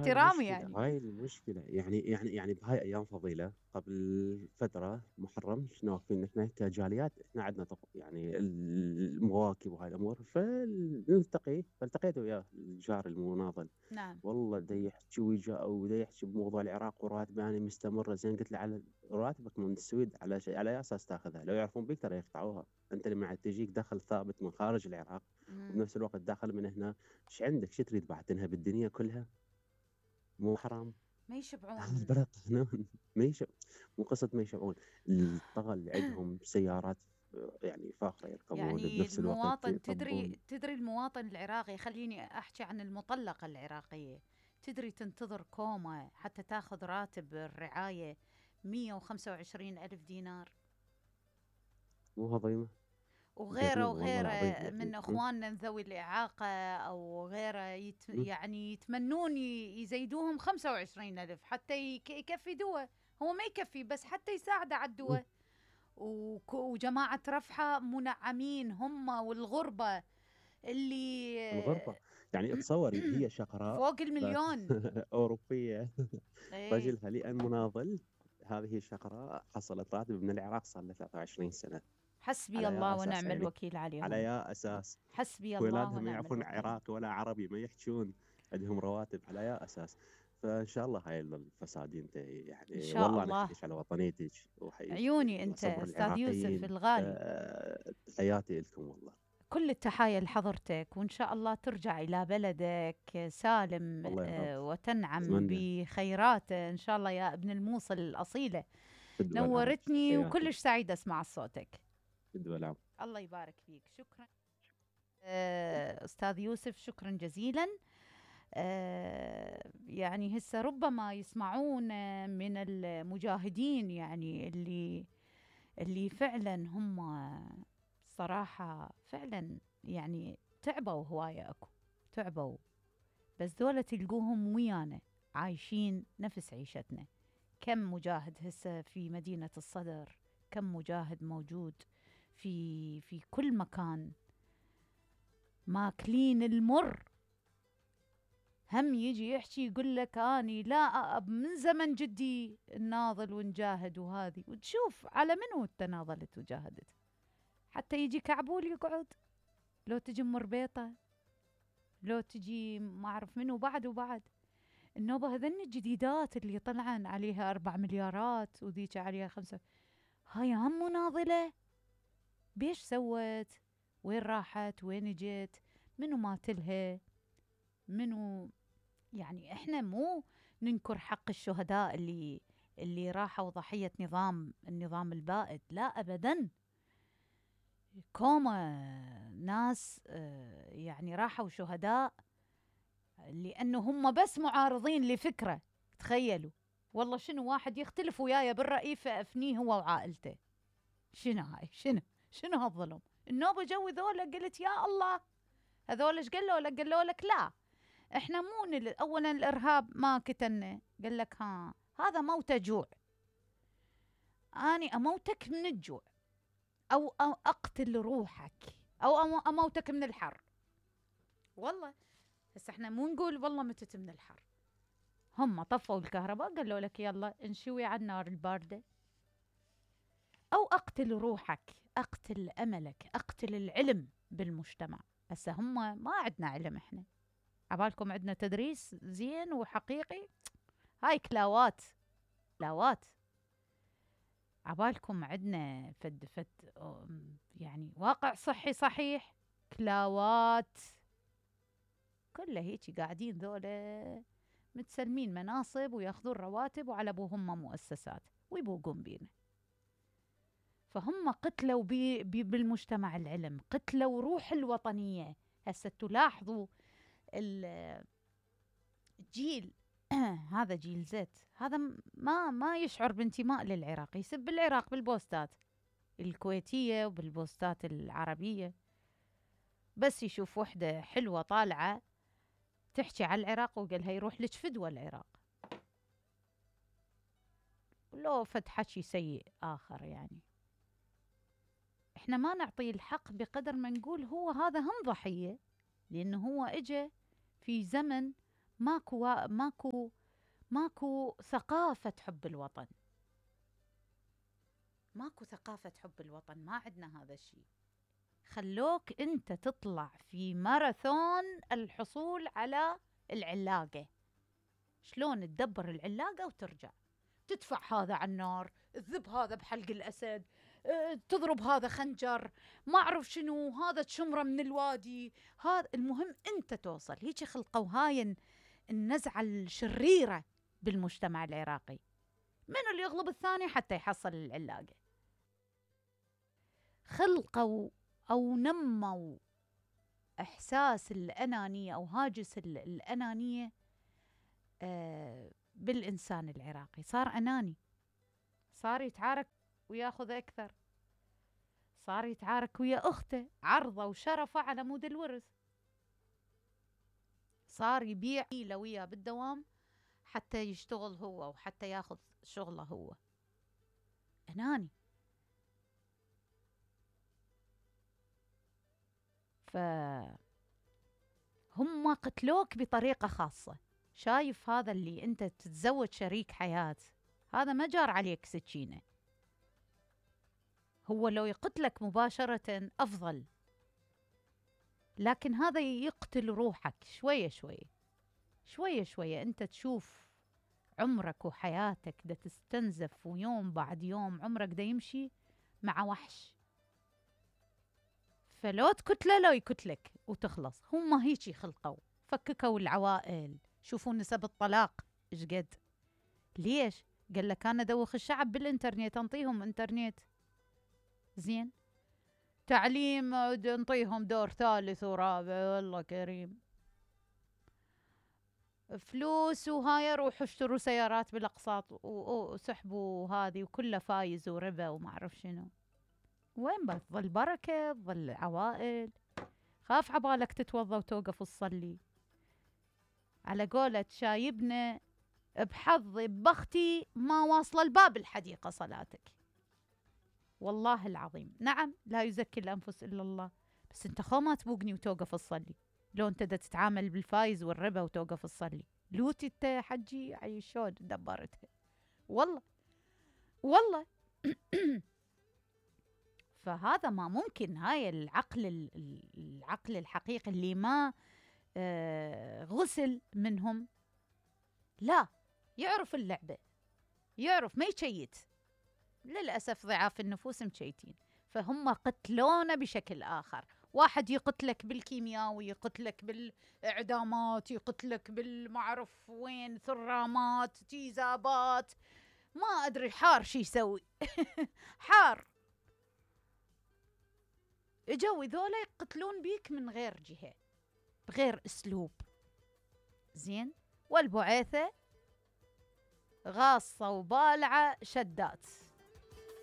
هاي احترام المشكلة، يعني. هاي المشكلة. يعني بهاي أيام فضيلة قبل فترة محرم شنو واقفين إحنا كجاليات، إحنا عندنا يعني المواكب وهاي الأمور، فالتقيت وياه الجار المناضل. نعم. والله دا يحكي ودا يحكي بموضوع العراق وراتبه يعني مستمرة. زين قلت له على راتبك من السويد على شيء، على أي أساس تاخذها؟ لو يعرفون بيك ترى يقطعوها. أنت لما تجيك دخل ثابت من خارج العراق مم. وبنفس الوقت داخل من هنا، ايش عندك؟ شو تريد بعد تنهب الدنيا كلها؟ مو حرام؟ ما هذا يشبعون. البلد قانون. ما يشب مو قصة ما يشبعون. الطغى اللي عندهم سيارات يعني فاخرة يركبون يعني بنفس الوقت المواطن، تدري يطبون. تدري المواطن العراقي، خليني أحكي عن المطلقة العراقية، تدري تنتظر كومة حتى تاخذ راتب الرعاية 125 ألف دينار. مو هضيمة. وغيره جريمة والله العظيم وغيره من يعني. اخواننا ذوي الاعاقه او غيره يعني يتمنون يزيدوهم 25 الف حتى يكفي دواء. هو ما يكفي، بس حتى يساعد على الدواء. وجماعه رفحه منعمين هم، والغربه اللي الغربة يعني تصوري هي شقراء فوق بس المليون. أوروبية. ايه. رجلها لأن مناضل. هذه الشقراء حصلت راتب من العراق صار له 23 سنة. حسبي على الله يا أساس ونعم يعني؟ الوكيل على عليهم. يا أساس؟ حسبي الله ولادها ما ونعم يعرفون الوكيل. عراقي ولا عربي، ما يحجون. عندهم رواتب على يا أساس؟ فإن شاء الله هاي الفساد ينتهي ان يعني. شاء والله أنا الله. حقيش على وطنيتك وحقيقة عيوني يعني انت صبر استاذ يوسف العراقيين. الغالي. تحياتي لكم والله. كل التحايا لحضرتك، وإن شاء الله ترجع إلى بلدك سالم، الله يا رب. وتنعم أتمنى. بخيرات إن شاء الله يا ابن الموصل الأصيلة. فدوى العمر. نورتني تحياتي. وكلش سعيدة أسمع صوتك. فدوى العمر. الله يبارك فيك. شكرا أستاذ يوسف، شكرا جزيلا. يعني هسه ربما يسمعون من المجاهدين، يعني اللي فعلا هم صراحة فعلا يعني تعبوا هواية، أكو تعبوا، بس ذولا تلقوهم ويانا عايشين نفس عيشتنا. كم مجاهد هسه في مدينة الصدر، كم مجاهد موجود في كل مكان، ماكلين المر. هم يجي يحكي يقول لك اني لا من زمن جدي الناضل ونجاهد وهذه، وتشوف على منو التناضلت وجاهدت. حتى يجي كعبول يقعد، لو تجي ام ربيطه، لو تجي ما اعرف منو بعد وبعد. النوبه هذن الجديدات اللي طلعن عليها 4 مليارات وذيك عليها 5، هاي هم مناضله. بيش سوت؟ وين راحت؟ وين جت؟ منو ماتلها؟ منو؟ يعني احنا مو ننكر حق الشهداء اللي راحوا ضحية النظام البائد، لا ابدا. كوما ناس يعني راحوا شهداء لانه هم بس معارضين لفكرة. تخيلوا والله شنو واحد يختلف وياي بالرأي فأفنيه هو وعائلته. شنو هاي؟ شنو هالظلم؟ النوبة جو ذولا قلت يا الله، هذول ايش قالوا لك؟ قالوا لك لا احنا مو اولا الارهاب ما قتلنا. قال لك ها هذا موت جوع، اني اموتك من الجوع أو اقتل روحك او اموتك من الحر. والله هسه احنا مو نقول والله متت من الحر. هم طفوا الكهرباء قالوا لك يلا انشوي على النار البارده، او اقتل روحك، اقتل املك، اقتل العلم بالمجتمع. هسه هم ما عندنا علم احنا، عبالكم عندنا تدريس زين وحقيقي؟ هاي كلاوات، كلاوات. عبالكم عندنا فد يعني واقع صحي صحيح؟ كلاوات. كله هيك قاعدين ذولا متسلمين مناصب وياخذون رواتب وعلى ابوهم مؤسسات ويبوقون بينا. فهم قتلوا بالمجتمع العلم، قتلوا روح الوطنية. هسه تلاحظوا الجيل هذا جيل زد، هذا ما يشعر بانتماء للعراق، يسب العراق بالبوستات الكويتية وبالبوستات العربية. بس يشوف وحدة حلوة طالعة تحكي على العراق وقالها يروح لك فدوى العراق، لو فد حكي سيء آخر. يعني احنا ما نعطي الحق بقدر ما نقول هو هذا هم ضحية، لأنه هو اجى في زمن ماكو ثقافة حب الوطن. ماكو ثقافة حب الوطن، ما عندنا هذا الشيء. خلوك انت تطلع في ماراثون الحصول على العلاقة. شلون تدبر العلاقة وترجع، تدفع هذا على النار، تذب هذا بحلق الأسد، تضرب هذا خنجر، ما أعرف شنو، هذا تشمره من الوادي، هذا المهم أنت توصل. هيك خلقوا هاي النزعة الشريرة بالمجتمع العراقي، من اللي يغلب الثاني حتى يحصل العلاقة. خلقوا أو نموا إحساس الأنانية أو هاجس الأنانية بالإنسان العراقي. صار أناني، صار يتعارك وياخذ أكثر، صار يتعارك ويا أخته عرضه وشرفه على مود الورث، صار يبيع وياه بالدوام حتى يشتغل هو وحتى ياخذ شغله هو. أناني. فهم قتلوك بطريقة خاصة. شايف هذا اللي انت تتزوج شريك حياة، هذا ما جار عليك سكينة، هو لو يقتلك مباشرة أفضل، لكن هذا يقتل روحك شوية شوية شوية شوية. انت تشوف عمرك وحياتك دا تستنزف، ويوم بعد يوم عمرك دا يمشي مع وحش. فلو تقتله لو يقتلك وتخلص. هم هيجي خلقوا، فككوا العوائل. شوفوا نسب الطلاق ايش قد. ليش؟ قال لك انا ادوخ الشعب بالانترنت، انطيهم انترنت زين، تعليم نعطيهم دور ثالث ورابع، والله كريم، فلوس وهاي روحوا اشتروا سيارات بالاقساط وسحبوا هذه وكله فايز وربا وما اعرف شنو. وين بتظل بركه؟ تظل عوائل. خاف عبالك تتوضا وتوقف تصلي. على قولة شايبنا بحظي ببختي ما واصله الباب الحديقه صلاتك. والله العظيم. نعم لا يزكي الانفس الا الله، بس انت خو ما تبوقني وتوقف تصلي. لو انت دا تتعامل بالفايز والربا وتوقف تصلي، لوتي انت يا حجي عي شلون دبرتها. والله والله. فهذا ما ممكن. هاي العقل الحقيقي اللي ما غسل منهم، لا يعرف اللعبة، يعرف ما يشيت. للأسف ضعاف النفوس مشيتين، فهم قتلونا بشكل آخر. واحد يقتلك بالكيمياوي، يقتلك بالإعدامات، يقتلك بالمعرف وين ثرامات تيزابات، ما أدري حار شي يسوي. حار. اجوا ذولا يقتلون بيك من غير جهة، بغير اسلوب زين. والبعيثة غاصة وبالعة شدات.